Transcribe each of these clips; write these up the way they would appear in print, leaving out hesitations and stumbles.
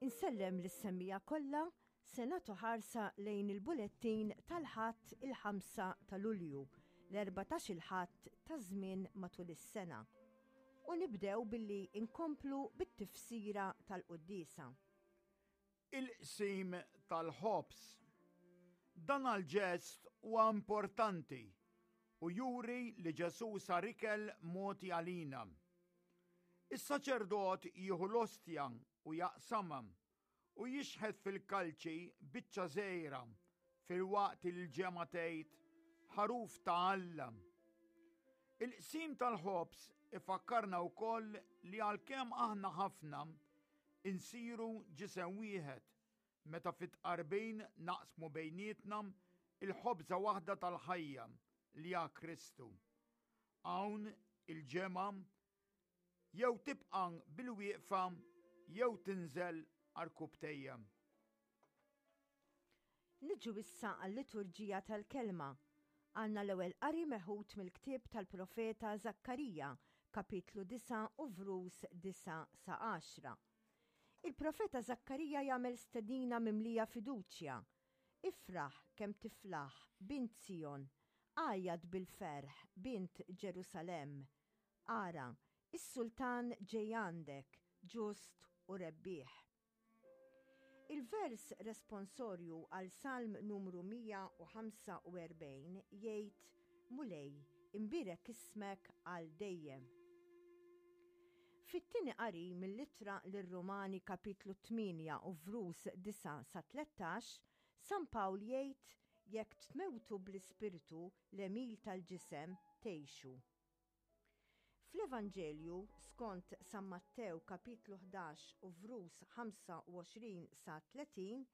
Insellem lis-semmiegħa kollha, se nagħtu ħarsa lejn il-bulettin tal-Ħadd il-5 ta' Lulju, l-erbatax-il Ħadd taż-żmien matul is-sena. U nibdew billi nkomplu bit-tifsira tal-quddiesa. Il-qsim tal-ħobż. Dan għall-ġest huwa importanti u juri li Ġesù sar ikel mogħti għalina. Is-saċerdot jieħu l-ostja u jaqsamha u jixħet fil-kalċi biċċa żgħira filwaqt li l-ġemgħa tgħid, Ħaruf ta' Alla. Il-qsim tal-ħobż ifakkarna wkoll li għalkemm aħna ħafna, insiru ġisem wieħed meta fit-tqarbin naqsmu bejnietna l-ħobża waħda tal-ħajja li ha Kristu. Hawn il-ġemgħa jew tibqa' bilwieqfa jew tinżel għarkupptejja. Niġu issa għal-liturġija tal-Kelma. Għandna l-ewwel qari meħud mill-ktieb tal-profeta Żakkarija, kapitlu 9 u vrus 9 sa 10. Il-profeta Żakkarija jagħmel stedina mimlija fiduċja, Ifraħ kemm tiflaħ, bint Sijon, għajjat bil-ferħ, bint Ġerusalemm. Ara, is-sultan ġej għandek, ġust u rebbieħ. Il-vers responsorju għal Salm numru 145 jgħid, Mulej, imbierek ismek għal dejjem. Fit-tieni qari mill-Ittra lir-Rumani kapitlu 8 u vrus 9 sa 13, San Pawl jgħid jekk tmewtu bl-Ispirtu l-għemil tal-ġisem, tgħixu. Fl-Evanġelju skont San Mattew kapitlu 11 u vrus 25 sa 30,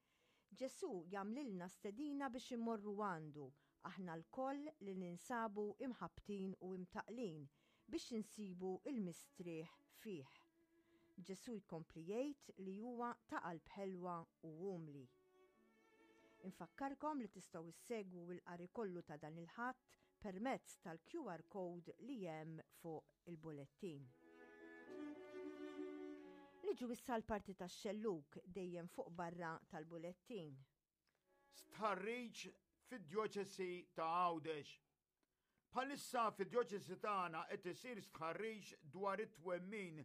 Ġesù jagħmlilna stedina biex immorru għandu, aħna lkoll li ninsabu imħabbtin u imtaqqlin, biex insibu l-mistrieħ fih. Ġesù jkompli jgħid li huwa ta' qalb ħelwa u umli. Infakkarkom li tistgħu ssegwu l-qari kollu ta' dan il-Ħadd permezz tal-QR code li hemm fuq il-bulettin. Niġu issa l-parti tax-xellug dejjem fuq barra tal-bulettin. Stħarriġ fid-Djoċesi ta' Għawdex. Bħalissa fid-djoċesi tagħna qed isir stħarriġ dwar it-twemmin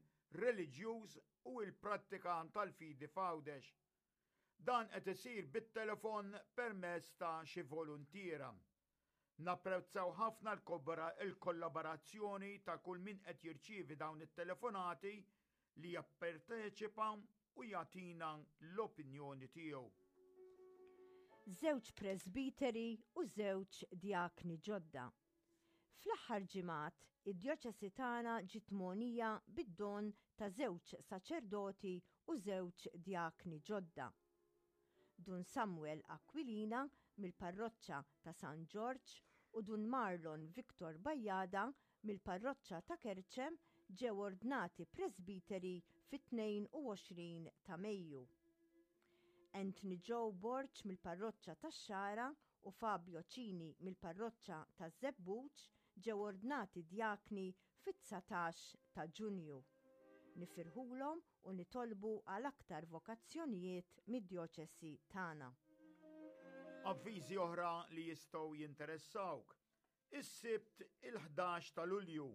reliġjuż u l-prattika tal-fidi f'Għawdex. Dan qed isir bit-telefon permezz ta' xi voluntiera. Napprezzaw ħafna l-kollaborazzjoni ta' kull min qed jirċievi dawn it-telefonati li japparteċipa u jagħtina l-opinjoni tiegħu. Żewġ presbiteri u żewġ djakni ġodda. Fl-aħħar ġimgħat, id-djoċesi tagħna ġiet mogħnija bid-don ta' żewġ saċerdoti u żewġ djakni ġodda. Dun Samuel Aquilina mill-Parroċċa ta' San Ġorġ u Dun Marlon Victor Bajada mill-Parroċċa ta' Kerċem ġew ordnati presbiteri fit-22 ta' Mejju. Anthony Joe Borg mill-Parroċċa tax-Xagħra u Fabio Cini mill-Parroċċa taż-Żebbuġ ġew ordnati djakni fit-19 ta' Ġunju. Nifirħulhom u nitolbu għal aktar vokazzjonijiet mid-djoċesi tagħna. Avviżi oħra li jistgħu jinteressawk. Is-Sibt il-11 ta' Lulju,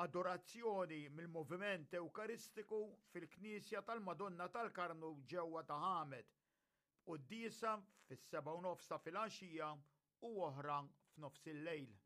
adorazzjoni mill-Moviment Ewkaristiku fil-Knisja tal-Madonna tal-Karmnu ġewwa Ta' Ħamed, b'quddiesa fis-sebgħa u nofs ta' filgħaxija u oħra f'nofsillejl.